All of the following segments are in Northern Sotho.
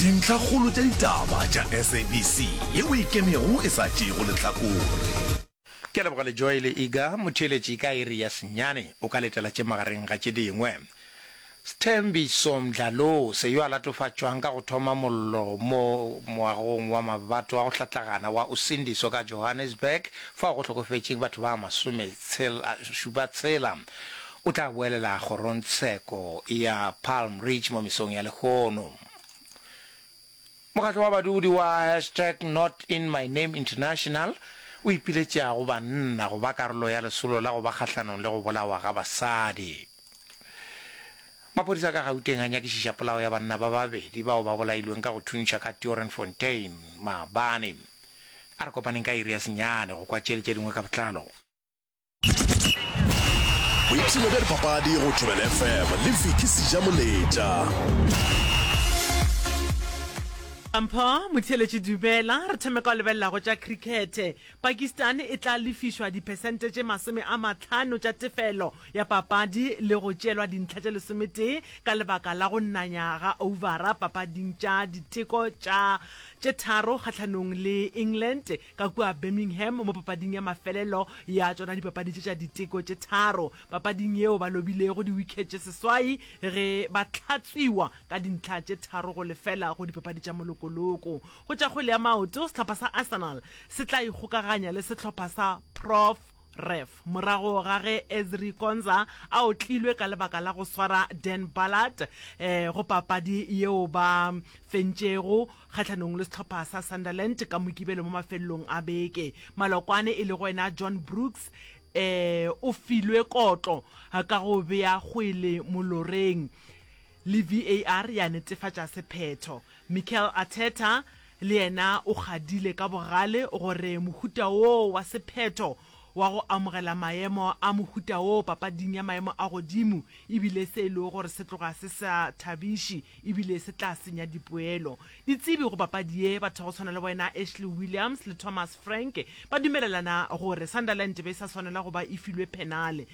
Dintlhakgolo tša ditaba tša SABC yeo e ikemego e sa tšeego lehlakore. Ke a leboga Lejoe le Iga, motheeletši ka iri ya senyane o ka letela tše magareng ga tše dingwe. Sthembiso Mdlalose yo a latofatšwang ka go thoma mollo mo moagong wa mabato a go hlatlagana wa Usindiso ka Johannesburg fao go hlokofetšeng batho ba masometshela o tla boelela kgorongtsheko ya Palm Ridge mo mesong ya lehono. Mokgatlo wa badudi wa hashtag Not In My Name International o ipiletša go banna go ba karolo ya lesolo la go ba kgahlanong le go bolawa ga basadi. Maphodisa ka Gauteng a nyakišiša polao ya banna ba babedi bao ba bolailweng ka go thuntšha ka Tiorenfontein maabane. A re kopaneng ka iri ya senyane go kwa tše le tše dingwe ka botlalo. Boipshino bja dipapadi go Thobela FM le Vicky Sejamoletša. Mpho Motheeletši Dumela, re thome ka go lebelela go tša khrikhethe. Pakistan e tla lefišwa diphesente tše 50 tša tefelo ya papadi le go tšeelwa dintlha tše lesometee ka lebaka la go nanya ga ouvara papading tša diteko tša tše tharo kgahlanong le England ka kua Birmingham mo papading ya mafelelo ya tšona dipapadi tše tša diteko tše tharo. Papading yeo ba lobilego di-wicket tše seswai ge ba hlatswiwa ka dintlha tše 3-0 go dipapadi tša molokoloko. Go tša kgwele ya maoto, sehlopha sa Arsenal se tla ikgokaganya le sehlopha sa Prof Ref morago ga ge Ezri Konza a otlilwe ka lebaka la go swara Dan Ballard go papadi yeo ba fentšego kgahlanong le sehlopha sa Sunderland ka Mokibelo mo mafelelong a beke. Malokwane e lego yena John Brooks o filwe kotlo ka go bea kgwele moloreng le VAR ya netefatša sephetho. Mikel Arteta le yena o kgadile ka bogale gore mohuta wo wa sephetho wa go amogela maemo a mohuta wo papading ya maemo a godimo e bile se e lego gore se tloga se sa thabiše e bile se tla senya dipoelo. Ditsebi go papadi ye, batho ba go tshwana le boena Ashley Williams le Thomas Frank ba dumelelana gore Sunderland be e sa swanela go ba e filwe phenale,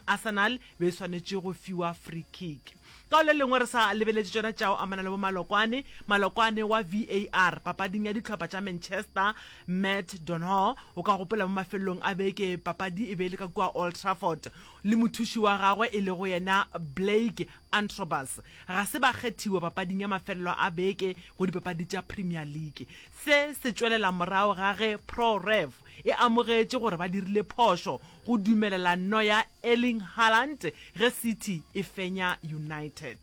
Arsenal be e swanetše go fiwa free kick. Ka go le lengwe re sa lebeletše tšona tša go amana le bomalokwane, malokwane wa VAR papading ya dihlopha tša Manchester, Matt Donohue, o ka gopola mo mafelelong a beke papadi e be e le ka kua Old Trafford, le mothuši wa gagwe e lego yena Blake Antrobus ga se ba kgethiwa papading ya mafelelo a beke go dipapadi tša Premier League. Se se tšwelela morago ga ge Pro Rev e amogetše gore ba dirile phošo go dumelela nno ya Erling Haaland ge City e fenya United.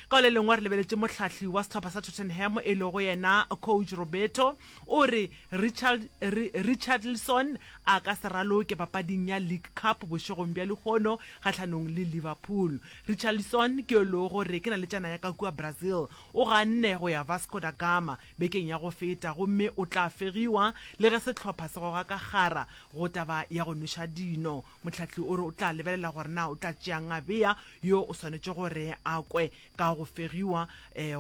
Ka le lengwe re lebeletše mohlahli wa sehlopha sa Tottenham e lego yena coach Roberto o re Richard, Richarlison a ka se raloke papading ya League Cup bošegong bja lehono kgahlanong le Liverpool. Richarlison ke yo lego gore ke naletšana ya ka kua Brazil. O ganne go ya Vasco da Gama bekeng ya go feta gomme o tla fegiwa le ge sehlopha se goga ka kgara go taba ya go nweša dino. Mohlahli o re o tla lebelela gore na o tla tšeang a bea yo o swanetše gore a kwe ka go fegiwa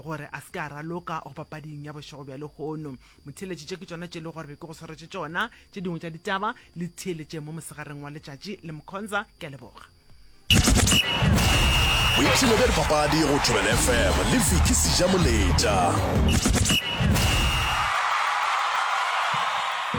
gore a se ke a raloka go papading ya bošego bja lehono. Motheeletši, tše ke tšona tše e lego gore be ke go swaretše tšona. Tše dingwe tša ditaba le theeletše mo mosegareng wa letšatši le Mkhonza. Ke a leboga. Boipshino bja dipapadi go Thobela FM le Vicky Sejamoletša.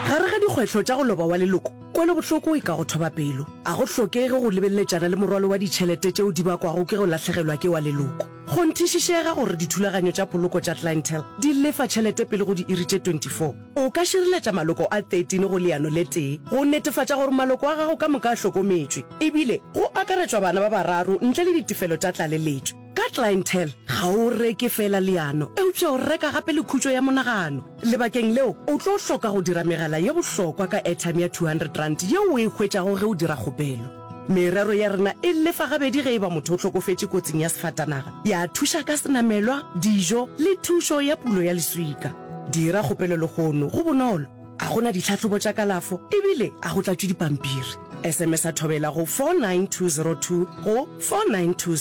Gare ga dikgwetlho tša go loba wa leloko, kwelobohloko e ka go thoba pelo. A go hlokege go lebeleletšana le morwalo wa ditšhelete tšeo di bakwago ke go lahlegelwa ke wa leloko. Kgonthišišega gore dithulaganyo tša poloko tša Clientele di lefa tšhelete pele go diiri tše 24. O ka šireletša maloko a 13 go leano le tee go netefatša gore maloko a gago ka moka a hlokometšwe, ebile go akaretšwa bana ba bararo ntle le ditefelo tša tlaleletšo. Ka Clientele, ga o reke feela leano, eupša o reka gape le khutšo ya monagano. Lebakeng leo, o tlo hloka go dira megala ye bohlokwa ka airtime ya R200 yeo o e hwetšago ge o dira kgopelo. Merero ya rena e lefa gabedi ge e ba motho o hlokofetše kotsing ya sefatanaga, ya thuša ka senamelwa, dijo le thušo ya pulo ya leswika. Dira kgopelo lehono, go bonolo, ga go na ditlhahlobo tša kalafo ebile ga go tlatšwe dipampiri. SMS-a Thobela go 49202 go 492.